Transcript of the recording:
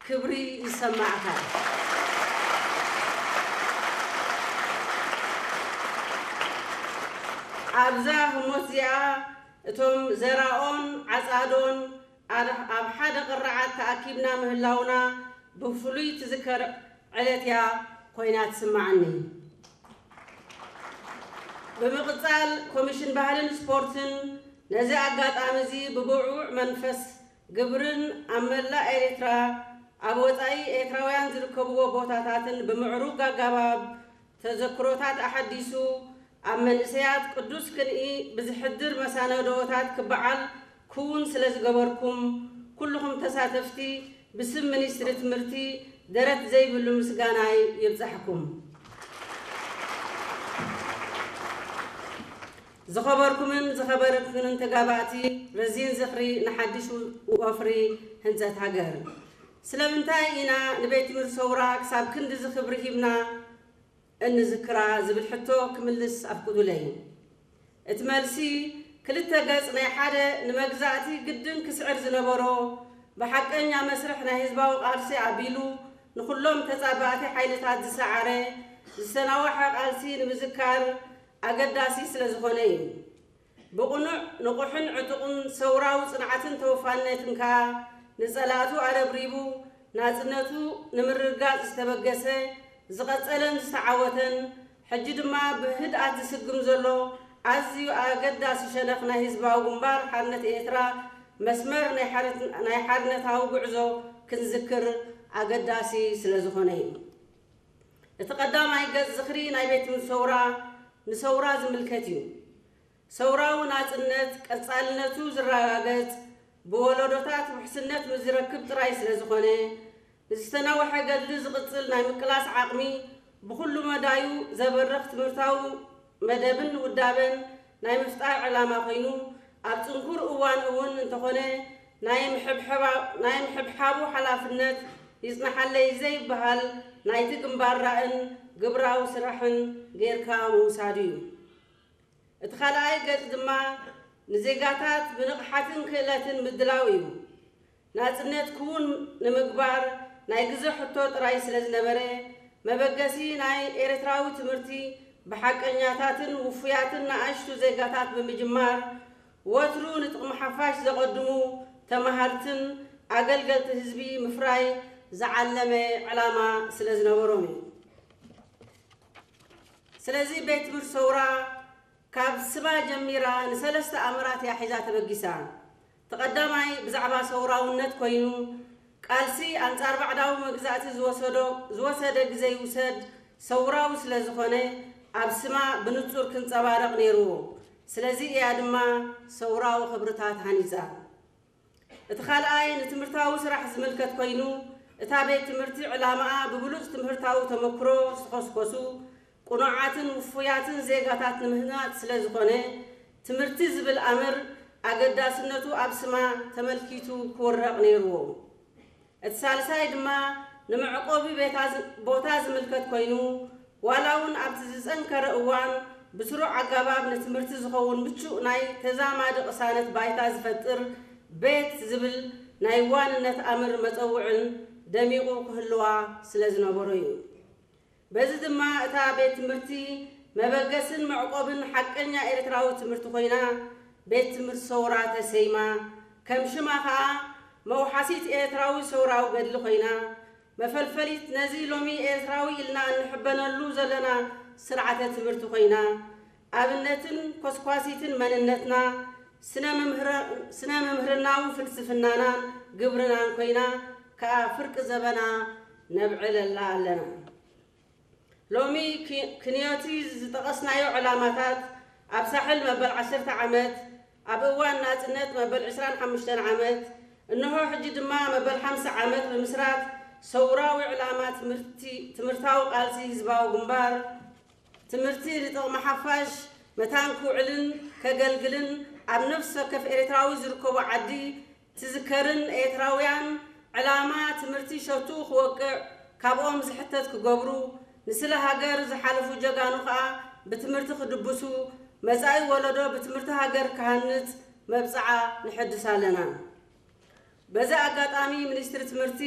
ክብሪ ይሰማዕካ። ኣብዛ ህሞት እዚኣ እቶም ዘራኦን ዓጻዶን ኣብ ሓደ ቅርዓት ተኣኪብና ምህላውና ብፍሉይ ትዝከር ዕለት እያ ኮይና ትስምዓኒ። ብምቕጻል ኮሚሽን ባህልን ስፖርትን ነዚ ኣጋጣሚ እዚ ብብዑዕ መንፈስ ግብርን ኣብ መላእ ኤርትራ ኣብ ወጻኢ ኤርትራውያን ዝርከብዎ ቦታታትን ብምዕሩግ ኣገባብ ተዘክሮታት ኣሓዲሱ ኣብ መንእሰያት ቅዱስ ክንኢ ብዝሕድር መሳነዶታት ክበዓል ክውን ስለ ዝገበርኩም ኩልኹም ተሳተፍቲ ብስም ሚኒስትሪ ትምህርቲ ደረት ዘይብሉ ምስጋናይ ይብጻሕኩም። ዝኸበርኩምን ዝኸበርክንን ተጋባእቲ ረዚን ዝኽሪ ንሓድሽ ወፍሪ ህንጸት ሃገር። ስለምንታይ ኢና ንቤት ትምህርቲ ሰውራ ክሳብ ክንድዚ ክብሪ ሂብና እንዝክራ ዝብል ሕቶ ክምልስ ኣፍቅዱለይ። እቲ መልሲ ክልተ ገጽ ናይ ሓደ ንመግዛእቲ ግድን ክስዕር ዝነበሮ ብሓቀኛ መስርሕ ናይ ህዝባዊ ቃልሲ ኣቢሉ ንኹሎም ተጻባእቲ ሓይልታት ዝሰዓረ ዝተናወሐ ቃልሲ ንምዝካር ኣገዳሲ ስለ ዝኾነ እዩ። ብቕኑዕ ንቑሕን ዕጡቕን ሰውራዊ ጽንዓትን ተወፋይነትን ከኣ ንጸላእቱ ኣረብሪቡ ናጽነቱ ንምርግጋጽ ዝተበገሰ ዝቐጸለን ዝተዓወተን ሕጂ ድማ ብህድኣት ዝስግም ዘሎ ኣዝዩ ኣገዳሲ ሸነኽ ናይ ህዝባዊ ግንባር ሓርነት ኤርትራ መስመር ናይ ሓርነታዊ ጉዕዞ ክንዝክር ኣገዳሲ ስለ ዝኾነ እዩ። እቲ ቀዳማይ ገጽ ዝኽሪ ናይ ቤት ትምህርቲ ሰውራ ንሰውራ ዝምልከት እዩ። ሰውራዊ ናጽነት ቀጻልነቱ ዝረጋገጽ ብወለዶታት ውሕስነት ምስ ዝረክብ ጥራይ ስለ ዝኾነ ንዝተናወሐ ገድሊ ዝቕጽል ናይ ምቅላስ ዓቕሚ ብኹሉ መዳዩ ዘበርኽ ትምህርታዊ መደብን ውዳበን ናይ ምፍጣር ዕላማ ኮይኑ ኣብ ጽንኩር እዋን እውን እንተኾነ ናይ ምሕብሓቡ ሓላፍነት ይጽናሓለይ ዘይበሃል ናይቲ ግንባር ራእን ግብራዊ ስራሕን ጌርካ ምውሳዱ እዩ። እቲ ካልኣይ ገጽ ድማ ንዜጋታት ብንቕሓትን ክእለትን ምድላው እዩ። ናጽነት ክውን ንምግባር ናይ ግዘ ሕቶ ጥራይ ስለ ዝነበረ መበገሲ ናይ ኤርትራዊ ትምህርቲ ብሓቀኛታትን ውፉያትን ንኣሽቱ ዜጋታት ብምጅማር ወትሩ ንጥቕሚ ሓፋሽ ዘቐድሙ ተማሃርትን ኣገልገልቲ ህዝቢ ምፍራይ ዝዓለመ ዕላማ ስለ ዝነበሮም እዩ። ስለዚ ቤት ትምህርቲ ሰውራ ካብ ስማ ጀሚራ ንሰለስተ ኣምራት እያ ሒዛ ተበጊሳ። እቲ ቀዳማይ ብዛዕባ ሰውራውነት ኮይኑ ቃልሲ ኣንጻር ባዕዳዊ መግዛእቲ ዝወሰደ ግዘ ይውሰድ ሰውራዊ ስለ ዝኾነ ኣብ ስማ ብንጹር ክንጸባረቕ ነይርዎ። ስለዚ እያ ድማ ሰውራዊ ክብርታት ሃኒጻ። እቲ ካልኣይ ንትምህርታዊ ስራሕ ዝምልከት ኮይኑ እታ ቤት ትምህርቲ ዕላማኣ ብብሉጽ ትምህርታዊ ተመክሮ ዝተኾስኮሱ ቅኑዓትን ውፉያትን ዜጋታት ንምህናጽ ስለ ዝኾነ ትምህርቲ ዝብል ኣምር ኣገዳስነቱ ኣብ ስማ ተመልኪቱ ክውረቕ ነይርዎ። እቲ ሳልሳይ ድማ ንመዕቆቢ ቦታ ዝምልከት ኮይኑ ዋላ እውን ኣብቲ ዝጸንከረ እዋን ብስሩዕ ኣገባብ ንትምህርቲ ዝኸውን ምቹእ ናይ ተዛማዲ ቅሳነት ባይታ ዝፈጥር ቤት ዝብል ናይ ዋንነት ኣምር መጸውዕን ደሚቑ ክህልዋ ስለ ዝነበሮ እዩ። በዚ ድማ እታ ቤት ትምህርቲ መበገስን መዕቆብን ሓቀኛ ኤርትራዊ ትምህርቲ ኮይና ቤት ትምህርቲ ሰውራ ተሰይማ። ከም ሽማ ከኣ መውሓሲት ኤርትራዊ ሰውራዊ ገድሊ ኮይና መፈልፈሊት ነዚ ሎሚ ኤርትራዊ ኢልና እንሕበነሉ ዘለና ስርዓተ ትምህርቲ ኮይና ኣብነትን ኮስኳሲትን መንነትና ስነ ምምህርናዊ ፍልስፍናናን ግብርናን ኮይና ከኣ ፍርቂ ዘበና ነብዕለላ ኣለና። ሎሚ ክንዮቲ ዝጠቐስናዮ ዕላማታት ኣብ ሳሕል መበል ዓሰርተ ዓመት፣ ኣብ እዋን ናጽነት መበል ዕስራን ሓሙሽተን ዓመት፣ እንሆ ሕጂ ድማ መበል ሓምሳ ዓመት ብምስራት ሰውራዊ ዕላማ ትምህርታዊ ቃልሲ ህዝባዊ ግንባር ትምህርቲ ንጥቕሚ ሓፋሽ መታን ክውዕልን ከገልግልን ኣብ ነፍሲ ወከፍ ኤርትራዊ ዝርከቦ ዓዲ ትዝከርን ኤርትራውያን ዕላማ ትምህርቲ ሸቱ ክወቅዕ ካብኦም ዝሕተት ክገብሩ ንስለ ሃገር ዝሓለፉ ጀጋኑ ከኣ ብትምህርቲ ክድብሱ መጻኢ ወለዶ ብትምህርቲ ሃገር ክሃንጽ መብጽዓ ንሕድስ ኣለና። በዚ ኣጋጣሚ ሚኒስትሪ ትምህርቲ